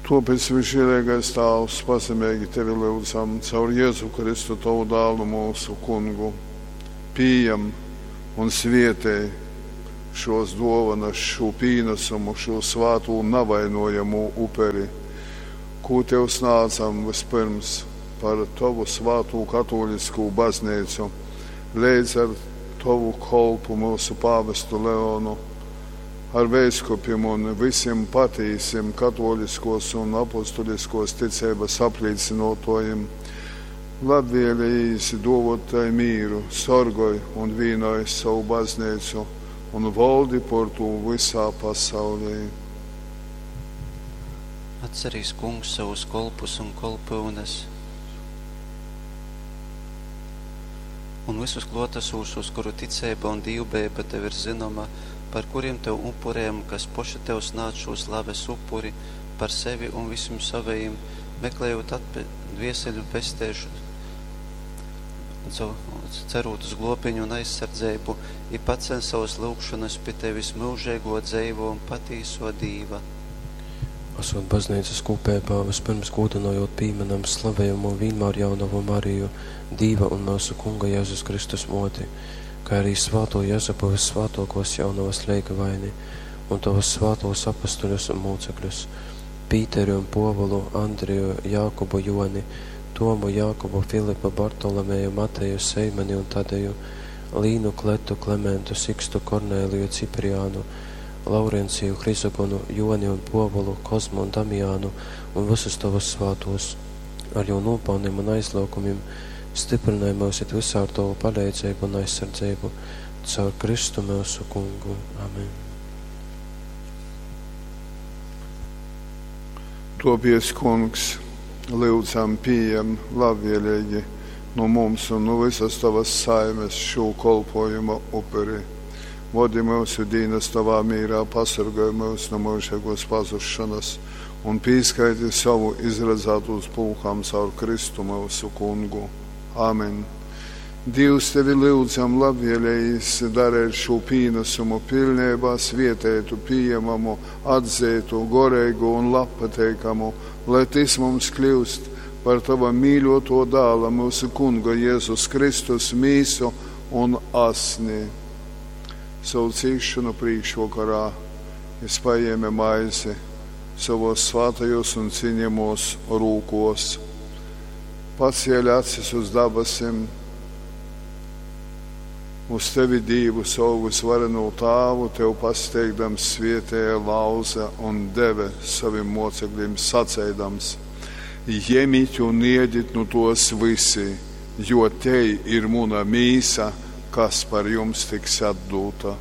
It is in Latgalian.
Tuopēc, visžieleigais Tāvs, pazemeigi Tevi lyudzam caur Jezu Kristu, Tovu dālu, mūsu Kungu. Pījam un svietej šos duovanas, šū pīnesumu, šū svātū navainojamū uperi, kū Tev snādzam vyspyrms par Tovu svātū katōliskū bazneicu, leidz ar Tovu kolpu mūsu pāvestu Leonu, ar veiskupim un vysim patīsim katōliskos un apostuliskos ticeibas aplīcynuotuojim. Labvēlējīs duovot tai mīru, sorgoj un vīnoj sovu bazneicu un voldi por tū vysā pasaulī. Atcerīs, Kungs, savus kolpus un kolpyunes un vysus klōtasūšos, kuru ticeiba un dīvbejeiba tev ir zynoma, par kurim tev upurejam, kas poši tev snādz šū slaves upuri par sevi un vysim sovejim, meklejūt atpe dvēseļu pesteišonu, cerūt uz glōbiņu un aizsardzeibu, i paceļ sovas lyugšonas pi tevis, myužeigō, dzeivō un patīsō Dīva. Asot bazneicas kūpeibā, vyspyrms gūdynojūt pīmynam slavejamū Vīnmārjaunovu Mariju, Dīva un myusu Kunga Jezus Kristus mōti, kai arī svātū Jezupu vyssvātōkōs jaunovas leigavaini un tovus svātūs apustuļus un mūcekļus, Pīteri un Pōvulu, Andriju, Jākubu, Joni, Tomu, Jākubu, Filipu, Bartolomeju, Mateju, Seimani un Tadeju, Līnu, Kletu, Klementu, Sikstu, Kornēliju, Cipriānu, Laurenciju, Hrizogonu, Joni un Pōvulu, Kozmu un Damiānu un vysus tovus svātūs, ar jū nūpalnim un aizlyugumim, stiprinoj myus it vysā ar tovu paleidzeibu un aizsardzeibu, caur Kristu myusu Kungu. Amen. Topiec, Kungs, lyudzam, pījem labvēlīgi nu mums un nu visas Tavas saimes šū kolpojuma uperi. Vodi myusu dīnas Tavā mīrā, pasorgoj myus nu myužeigos pazušanas un pīskaiti savu izradzātūs pulkam caur Kristu myusu Kungu. Amen. Dīvs tevi lyudzam labvēlējis darēt šū pīnesumu pilneibā svietētu, pījemamu, atzeitu, goreigu un labpateikamu, lai tys mums kļūst par tava mīļoto dāla, mūsu Kunga Jēzus Kristus mīsu un asni. Savu cīšanu prīkšvokarā jis paēma maizi savos svātajos un cienījamos rūkos, pacēla acis uz dabasim, uz tevi Dīvu, savu visvarenū Tāvu, tev pasteigdams svietēja lauza un deve savim mocekļiem saceidams: Jemit un iedit nu tos visi, jo te ir muna mīsa, kas par jums tiks atdūta.